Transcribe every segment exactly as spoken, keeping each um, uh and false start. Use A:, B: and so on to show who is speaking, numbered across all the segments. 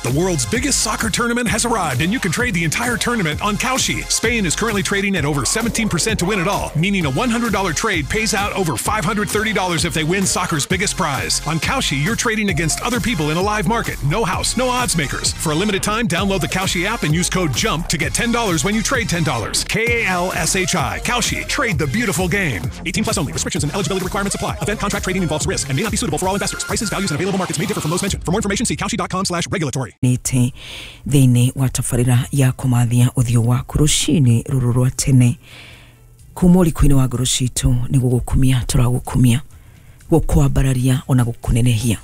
A: The world's biggest soccer tournament has arrived, and you can trade the entire tournament on Kalshi. Spain is currently trading at over seventeen percent to win it all, meaning a one hundred dollar trade pays out over five hundred thirty dollars if they win soccer's biggest prize. On Kalshi, you're trading against other people in a live market. No house, no odds makers. For a limited time, download the Kalshi app and use code JUMP to get ten dollars when you trade ten dollars. K A L S H I. Kalshi. Trade the beautiful game. eighteen plus only. Restrictions and eligibility requirements apply. Event contract trading involves risk and may not be suitable for all investors. Prices, values, and available markets may differ from those mentioned. For more information, see Kalshi dot com slash regulatory.
B: Nĩte thĩinĩ wa tabarĩra ya kũmathia ũthiũ waku rũcinĩ rũrũ rwa tene kuma ũriku-inĩ wa ngoro citũ nĩ gũgũkumia tũragũkumia, gũkwambararia ona gũkũnenehia,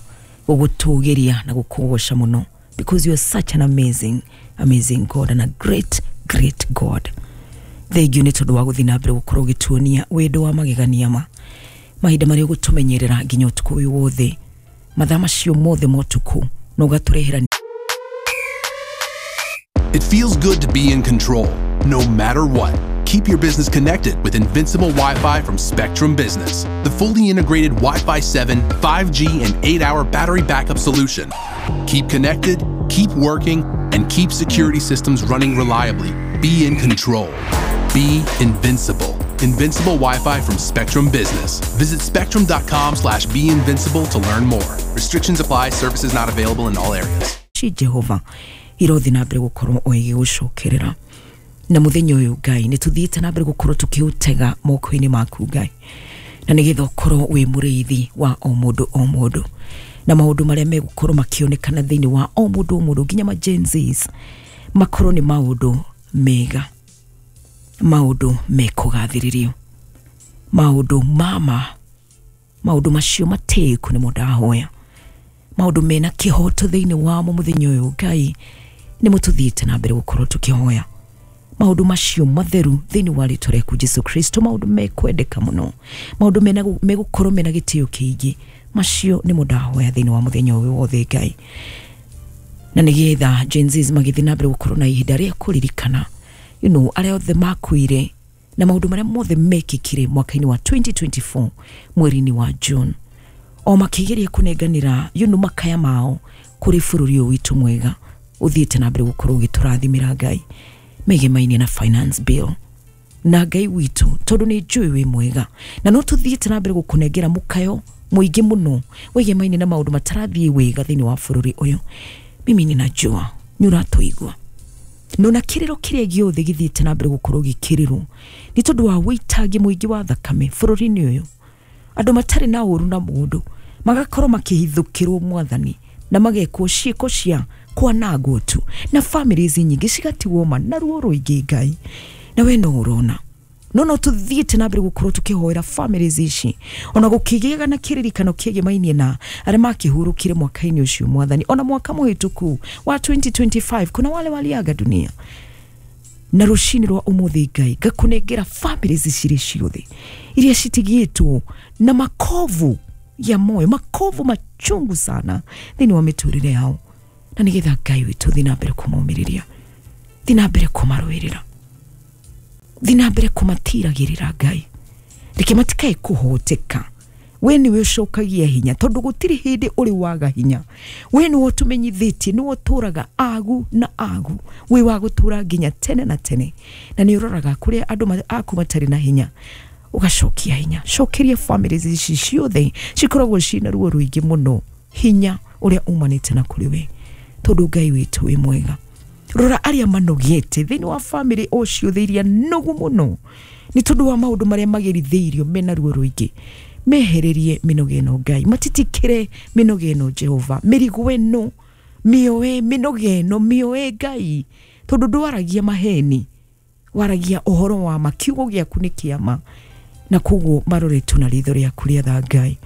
B: gũgũtũgĩria na gũkũgoca mũno, because you are such an amazing, amazing God and a great, great God. Thengiũ nĩ tondũ wa gũthiĩ na mbere gũkorwo ũgĩtuonia wendo wa magegania ma mahinda marĩa ũgũtũmenyerera nginya ũtukũ ũyũ wothe, mathaa macio mothe ma ũtukũ, na ũgatũrehera.
C: It feels good to be in control, no matter what. Keep your business connected with Invincible Wi Fi from Spectrum Business, the fully integrated Wi Fi seven, five G, and eight hour battery backup solution. Keep connected, keep working, and keep security systems running reliably. Be in control. Be invincible. Invincible Wi-Fi from Spectrum Business. Visit spectrum dot com slash be invincible to learn more. Restrictions apply. Services not available in all areas.
B: Ci Jehova irothi na mbere gũkorwo o igĩgũcokerera na mũthenya ũyũ. Ngai, nĩ tũthiĩte na mbere gũkorwo tũkĩũtega moko-inĩ maku, Ngai, na nĩgetha ũkorwo wĩ mũrĩithi wa o mũndũ o mũndũ na maũndũ marĩa megũkorwo makĩonekana thĩinĩ wa o mũndũ o mũndũ nginya ma Gen Zs makorwo nĩ maũndũ mega, maũndũ mekũgathĩrĩrio, maũndũ mama, maũndũ macio matĩĩku nĩmo ndahoya, maũndũ mena kĩhoto thĩinĩ wamo. Mũthenya ũyũ, Ngai, nĩmo tũthiĩte na mbere gũkorwo tũkĩhoya maũndũ macio matheru thĩinĩ wa rĩtwa rĩaku Jesu Kristo, maũndũ mekwendeka mũno, maũndũ mena megũkorwo mena gĩtĩo kĩingĩ. Macio nĩmo ndahoya thĩinĩ wa mũthenya ũyũ wothe, Ngai, na nĩgetha Gen Zs magĩthiĩ na mbere gũkorwo na ihinda rĩa kũririkana you know, arĩa othe makuire na maũndũ marĩa mothe mekĩkire mwaka-inĩ wa twenty twenty-four mweri-inĩ wa June, o makĩgeria kũnenganĩra you know, makaya mao kũrĩ bũrũri ũyũ witũ mwega ũthiĩte na mbere gũkorwo ũgĩtũrathimĩra, Ngai, megemainie na finance bill. Na Ngai witũ, tondũ nĩ njũĩ wĩ mwega na no tũthiĩte na mbere gũkũnengera mũkayo mũingĩ mũno wĩgemainie na maũndũ matarathiĩ wega thĩinĩ wa bũrũri ũyũ, mimi ninajua nĩ ũratũigua nona kĩrĩro kĩrĩa gĩothe gĩthiĩte na mbere gũkorwo gĩkĩrĩrwo nĩ tondũ wa wĩitangi mũingĩ wa thakame bũrũri-inĩ ũyũ, andũ matarĩ na ũru na mũndũ magakorwo makĩhithũkĩrwo, Mwathani, na magekwo ciĩko cia kwanangwo tu na families nyingĩ cigatigwo ma na ruo rũingĩ. Ngai, na we no ũrona no no tuthiĩte na mbere gũkorwo tũkĩhoera families ici ona gũkĩgĩaga na kĩririkano kĩegemainie na arĩa makĩhurũkire mwaka-inĩ ũcio, Mwathani, ona mwaka mũhĩtũku wa twenty twenty-five kuna wale waliaga dunia. Na rũcinĩ rwa ũmũthĩ, Ngai, ngakũnengera families cirĩ ciothe iria citigĩtwo na makovu ya moyo, makovu machungu sana thĩinĩ wa mĩtũrĩre yao, na nĩgetha Ngai witũ thiĩ na mbere kũmomĩrĩria, thiĩ na mbere kũmarũĩrĩra, thiĩ na mbere kũmatiragĩrĩra. Ngai, reke matikae kũhoteka. We nĩwe ũcokagia hinya, tondũ gũtirĩ hĩndĩ ũrĩ waga hinya. We nĩwe ũtũmenyithĩtie nĩwe ũtũraga agu na agu, wĩ wa gũtũra nginya tene na tene, na nĩ ũroraga kũrĩa andũ ma- aku matarĩ na hinya ũgacokia hinya. Cokeria families ici ciothe cikoragwo ciĩna ruo rũingĩ mũno hinya ũrĩa umanĩte na kũrĩ we, tondũ Ngai witũ wĩ mwega. Rora arĩa manogete thĩinĩ wa family o ciothe iria nogu mũno nĩ tondũ wa maũndũ marĩa magerithĩirio mena ruo rũingĩ. Mehererie mĩnoga ĩno, Ngai, matitikĩre mĩnoga ĩno. Jehova, mĩrigo ĩno mĩoe, mĩnoga ĩno mĩoe, Ngai, tondũ ndwaragia maheni, waragia ũhoro wa ma. Kiugo gĩaku nĩ kĩama, na koguo maroretwo na ritho rĩaku rĩa tha, Ngai.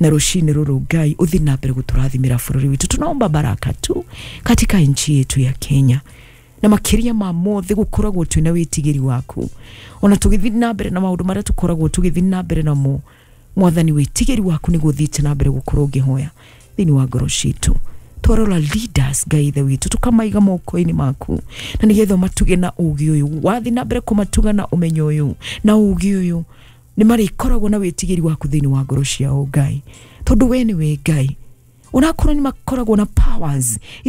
B: Na rũcinĩ rũrũ, Ngai, ũthiĩ na mbere gũtũrathimĩra bũrũri witũ. Tunaomba baraka tu katika nchi yetu ya Kenya, na makĩria ma mothe gũkoragwo twĩna wĩtigĩri waku ona tũgĩthiĩ na mbere na maũndũ marĩa tũkoragwo tũgĩthiĩ na mbere namo. Mwathani, wĩtigĩri waku nĩguo ũthiĩte na mbere gũkorwo ũngĩhoya thĩinĩ wa ngoro citũ. Twarora leaders, Ngai ithe witũ, tũkamaiga moko-inĩ maku, na nĩgetha ũmatuge na ũgĩ ũyũ. Wathiĩ na mbere kũmatuga na ũmenyo ũyũ na ũgĩ ũyũ, nĩ marĩkoragwo na wĩtigĩri waku thĩinĩ wa ngoro ciao, Ngai, tondũ we nĩwe Ngai. Onakorwo nĩ makoragwo na powers iria